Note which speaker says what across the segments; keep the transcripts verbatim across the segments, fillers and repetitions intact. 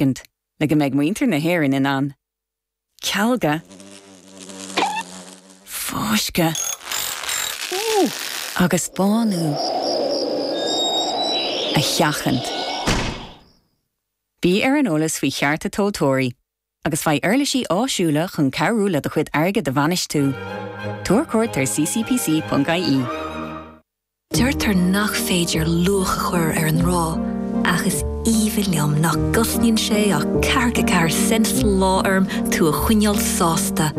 Speaker 1: Le go mbeidh muintir na hÉireann in ann. Cealga fáisceadh agus bánú a sheachaint. Bí ar an eolas faoi chearta tomhaltóirí, agus faigh uirlisí áisiúla chun cabhrú le do chuid airgid a bhainistiú. Tabhair cuairt ar ccpc.ie.
Speaker 2: Deirtear nach féidir luach a chur ar an ngrá, ach is aoibhinn liom nach gcosnaíonn sé ach ceathracha ceathair cent sa lá orm tú a choinneáil sásta.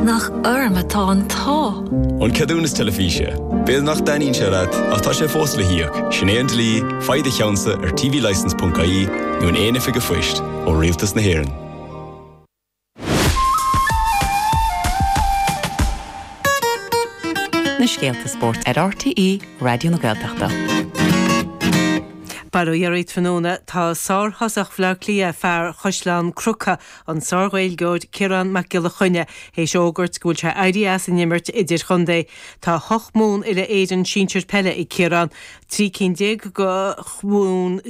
Speaker 2: Nach orm atá an t-ádh.
Speaker 3: An ceadúnas teilifíse. B'fhéidir nach dtaitníonn sé leat ach tá sé fós le híoc, sin é an dlí, faigh do cheannsa ar tvlicence.ie nó in aon oifig an phoist ó Rialtas na hÉireann.
Speaker 4: Na scéalta spóirt ar RTÉ Raidió na Gaeltachta.
Speaker 5: Bail ó Dhia oraibh tráthnóna tá sárthosach Bhaile Átha Cliath fear Chaisleán Cnucha an sárGhaeilgeoir Ciarán Mac Giolla Chainnigh théis fhógairt go bhfuil sé éirithe as an imirt idirchontae. Tá hocht mbuan uile-Éireann sinsir peile ag Ciarán, trí cinn déag de bhuanna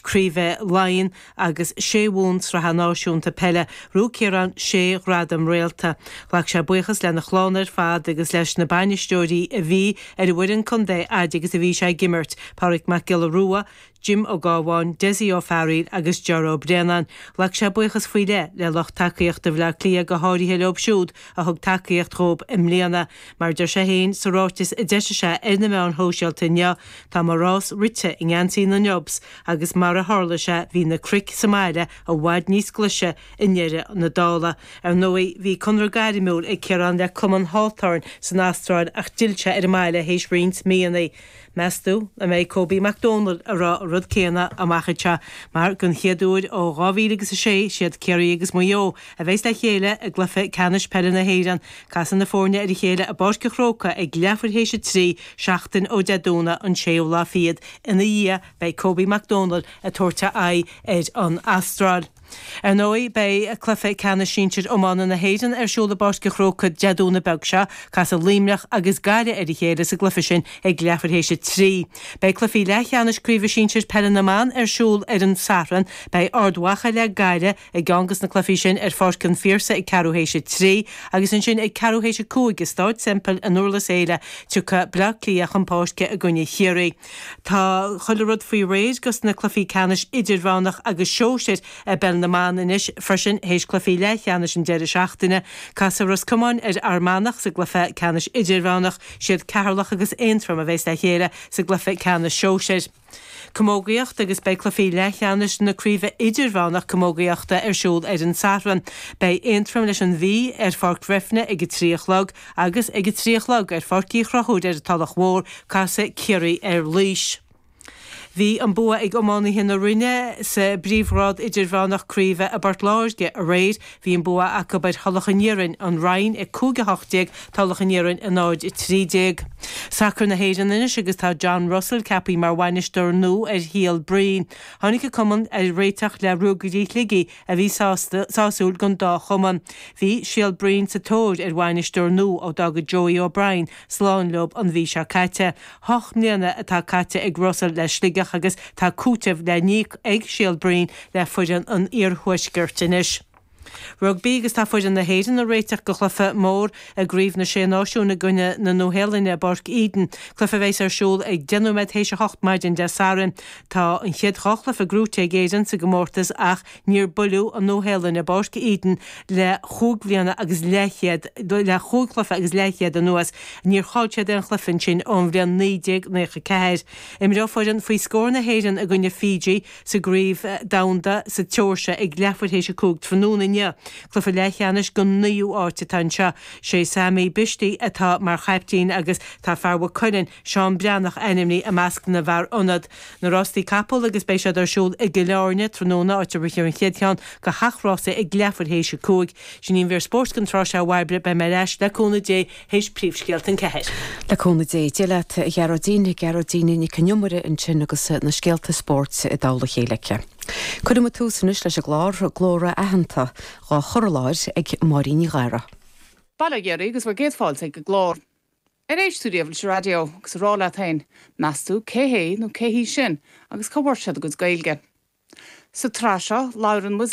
Speaker 5: craoibhe Laighean agus sé bhuan sraithe náisiúnta peile. Ghnóthaigh Ciarán sé ghradam réalta. Ghlac sé buíochas lena chlann ar fad agus leis na bainisteoirí a bhí ar an bhfoireann contae fhad agus a bhí sé ag imirt, Pádraig Mac Giolla Rua, Jim Ó Gábháin, Dessie Ó Fearghaíl agus Ger Ó Braonáin. Ghlac sé buíochas faoi leith le lucht tacaíochta Bhaile Átha Cliath go háirithe leo siúd a thug tacaíocht dhóibh i mbliana. Mar deir sé féin sa ráiteas a d'eisigh sé ar na meáin shóisialta inniu, tá mo rás rite i ngeansaí na nDubs agus mar a tharla sé bhí na cnoic sa mbaile i bhfad níos glaise i ndeireadh na dála. Ar ndóigh bhí conradh gairmiúil ag Ciarán le Cumann Hawthorn san Astráil ach d'fhill sé ar an mbaile théis roinnt míonna. Meas tú an mbeidh Kobe Mac Dónaill ag rá an rud céanna amach anseo mar don chéad uair ó dhá mhíle agus a sé siad Ciarraí agus Maigh Eo a bheas le chéile i gcluiche ceannais peile na hÉireann. Casfaidh na foirne ar a chéile i bPáirc an Chrócaigh ag leathuair théis a trí seachtain ó Dé Domhnaigh an séú lá fichead. Ina dhiaidh beidh Kobe Mac Dónaill ag tabhairt a aghaidh ar an Astráil. Ar ndóigh, beidh cluiche ceannais sinsir iomána na hÉireann ar siúl i bPáirc an Chrócaigh Dé Domhnaigh beag seo. Casfaidh Luimneach agus Gaillimh ar a chéile sa gcluiche sin ag leathuair théis a trí. Beidh cluichí leathcheannais Craoibhe Sinsir Peile na mBan ar siúl ar an Satharn. Beidh Ard Mhacha le Gaillimh i gceann de na cluichí sin ar Pháirc an Phiarsaigh ag ceathrú théis a trí agus ansin ag ceathrú théis a cúig i Stáid Semple i nDurlas Éile tiocfaidh Bleá Cliath chun páirce i gcoinne Chiarraí. Tá chuile rud faoi réir dos na cluichí ceannais idirmheánach agus sóisir i bpeil na mban anois freisin théis cluichí leathcheannais an deireadh seachtaine. Casfaidh Ros Comáin ar Fhear Manach sa gcluiche ceannais idirmheánach. Siad Ceatharlach agus Aontroim a bheas le chéile sa gcluiche ceannais sóisir. Camógaíocht agus beidh cluichí leathcheannais na Craoibhe Idirmheánach Camógaíochta ar siúl ar an Satharn. Beidh Aontroim leis an Mhí ar Pháirc Bhreifne ag a trí a chlog agus ag a trí a chlog ar Pháirc Uí Chonchúir ar an Tulach Mhór, casfaidh Ciarraí ar Laois. Bhí an bua ag iománaithe na Rinne sa bpríomhghrád idirmheánach craoibhe i bPort Láirge aréir. Bhí an bua acu ar Thulach an Iarainn, An Rinn a cúig a hocht déag, Tulach an Iarainn a náid a trí déag. Sacar na hÉireann anois agus tá John Russell ceaptha mar bhainisteoir nua ar Shíol Bhraoin. Tháinig an cumann ar réiteach le Ruagairí Shligigh a bhí sásúil don dá chumann. Bhí Síol Bhraoin sa tóir ar bhainisteoir nua ó d'fhága Joey O'Brien slán leo an mhí seo caite. Hocht mbliana atá caite ag Russell le Sligeach agus tá cúiteamh le n-íoc ag Síol Bhraoin le foireann an iarthuaiscirt anois. Rugbaí agus tá foireann na hÉireann ag réiteach do chluiche mór i gCraobh na Sé Náisiún i gcoinne na Nua-Shéalainne i bPáirc Eden, cluiche a bheas ar siúl ag deich nóiméad théis a hocht maidin Dé Sathairn. Tá an chéad dhá chluiche gnóite ag Éirinn sa gcomórtas ach níor buaileadh an Nua-Shéalainn i bPáirc Eden le chúig bhliana agus leathchéad le chúig chluiche agus leathchéad anuas. Níor chaill siad aon chluiche ansin ón bhliain naoi déag nócha ceathair. Imreoidh foireann faoi scór na hÉireann i gcoinne Fiji sa gCraobh Domhanda sa tSeoirsia ag leathuair théis a cúig tráthnóna inniu. Cluiche leathcheannais don naoú áit atá anseo. Sé Sammy Bishti atá mar chaiptín agus tá fear Mhaigh Cuilinn, Seán Breathnach ainmnithe i measc na bhfear ionad. Na rástaí capall agus beidh siad ar siúl i gCill Airne tráthnóna áit a rithfear an chéad cheann de sheacht rása ag leathuair théis a cúig. Sin í an mhír spóirt don tráth seo a Bhairbre, beidh mé ar ais le cúnamh Dé théis príomhscéalta an ceathair.
Speaker 6: Le cúnamh Dé. Dia leat a Ghearóidín, Gearóidín Nic an Iomaire ansin agus na scéalta spóirt i dtoll a chéile aici. Cuirfidh muid tús anois leis an gclár Glórtha Aitheanta dhá chur i láthair ag Máirín Ní Ghadhra.
Speaker 7: Bail ó Dhia oraibh agus bhur gcéad fáilte ag an gclár. Ar éist tú riamh leis an raidió agus ag rá leat féin, meas tú cé hé nó cé hí sin agus cá bhfuair siad a gcuid Gaeilge? Sa tsraith seo labhrann muid